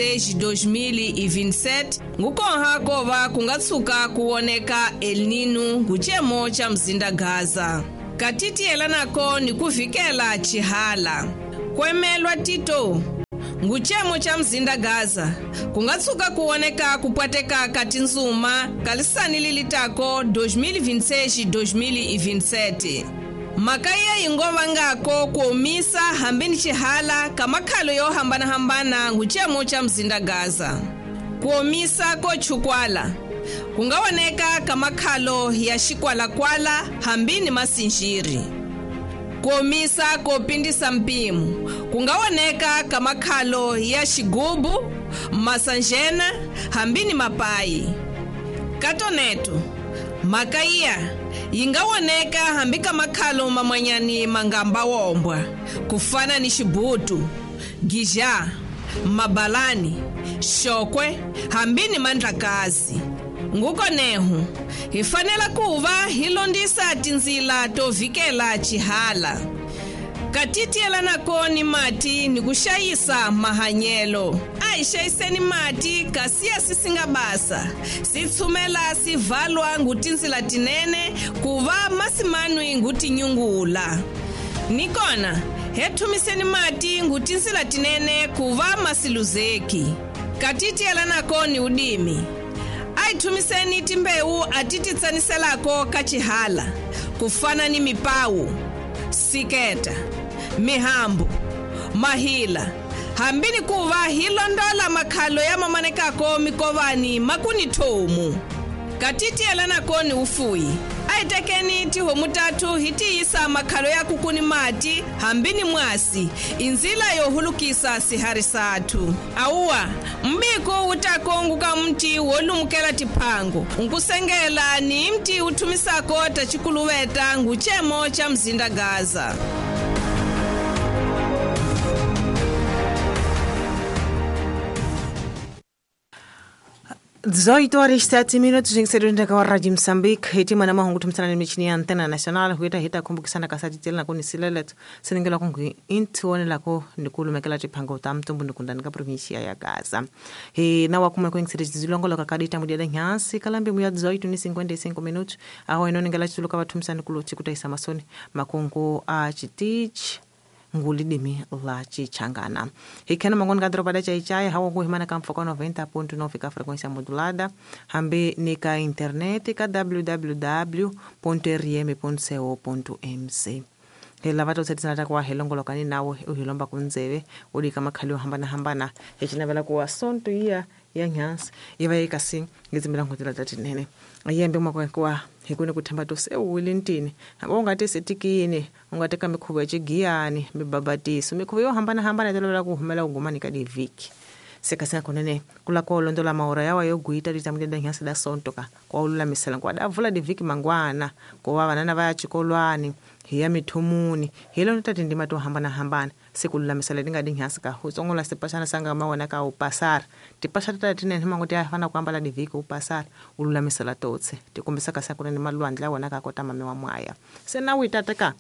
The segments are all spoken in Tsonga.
2027 ngukonha kova kungatsuka kuwoneka El Nino nguchemo cha mzinda Gaza. Katitiyelanako ni kuvikela chihala. Kwemelwa Tito nguchemo cha mzinda Gaza kungatsuka kuwoneka kupwateka katinzuma kalisani lilitako 2026-2027. Makaya ingova ngako kuomisa hambini chihala kamakhalo yohambana-hambana nguchemo cha mzinda Gaza. Kuomisa kochukwala kungawoneka kamakhalo ya xikwalakwala hambini masinjiri. Kuomisa kopindisa mpimo kungawoneka kamakhalo ya xigubu, masanjena hambini mapayi. Katoneto makaiya yingawoneka hambi kamakhalo mamwanyani mangamba wombwa kufana ni xibutu, gija, mabalani, xokwe hambini mandlakazi. Ngukonehu hi fanela kuva hi londisa tindzila to vikela chihala. Katitiyelanako ni mati ni kuxayisa mahanyelo. A hi xayiseni mati kasi ya sisinga basa si tshumela si valwa ngutindzila tinene ku va masimanwi ngutinyungula. Nikona he thumiseni mati ngutindzila tinene ku va masiluzeki. Katitiyelanako ni udimi. A hi thumiseni timbewu a ti ti tsaniselako ka chihala kufana ni mipawu, siketa, mihambu, mahila hambini kuva hi londola makhalo ya mamanekako mikovani makuni thomu. Katitiyelanako ni ufuyi. A hi tekeni tihomu tatu hi tiyisa makhalo ya kukuni mati hambini mwasi inzila yo hulukisa sihari sathu. Awuwa mbiko wutako nguka mti wolumukela tiphango nkusengela ni mti uthumisako tachikuluveta nguchemo cha mzinda Gaza. 18 horas 7 minutos em ser ka Rádio Moçambique hitima na mahungu thumisana ni michini ya Antena Nacional huita hita kumbukisana kasati tela na kuni sileleto siningela kungu intuone lako nikulumekela chiphango ta mtumbu nikundani ka provincia ya Gaza he na wakuma kwengisere zilongo kakadita mudia da nyansi kalambi muya 18:55 minutos aho inoningela chituluka vathumisana kuloti kutaisa masoni makungu a chitich ngulidimi la chichangana hikhena mangoni ka doroba da chaichai hawa kuhimana ka mfoka 90.9 ka frequência modulada hambi ni ka internet ka www.rm.co.mc hi lava to tshetisana ta kuwa hi longolokani nawe u hi lomba kundzeve u dika makhali yo hambanahambana hi cinavela kuwa sonto iya ya nyansi yi va yi kasi ngi tsimbela n'hweti ta tinene yembe makuwa hi kuni ku themba to se u wile ntini hambi u nga ti setikini u nga teka mikhuvo ya xigiyani mibabatiso mikhuvo yo hambanahambana yi tolovela ku humela ugumani ka divhiki se kasi nga kunene ku la ko londola mahora yawa yo gwita litamudenda nyasi da sonto ka kwa ululamisela kwa da vula divhiki mangwana ku va vanana va ya xikolwani hi ya mithumuni hi lona ta tindima to hambanahambana se ku lulamisela ti nga di nyasi ka u tsongola sipasana sanga ma wena ka u pasara tipasha ta tinene mango ti fana ku ambala divhiki u pasara u lulamisela totse ti kombisa kasi kunene malwandle ya wena ka kota mame wa mwaya se na witata ka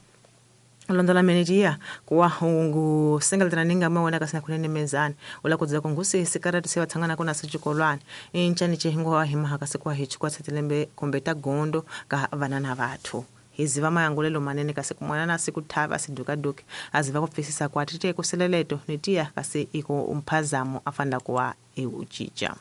londola menejiya kuwa hungu sengeletana ninga mawona kasi kunene mezani ula kudzela kungusi sikaratu se vatsangana kuna sechikolwana inchani chihingo wa himaha kasi kwa hichikwa tshetelembe kumbe ta gondo ka vanana vathu hiziva mayangulelo manene kasi kumwana siku thava sidukaduke aziva kupfisisa kwa tite kuseleleto nitiya kasi iko umphazamo afanda kuwa iuchicha.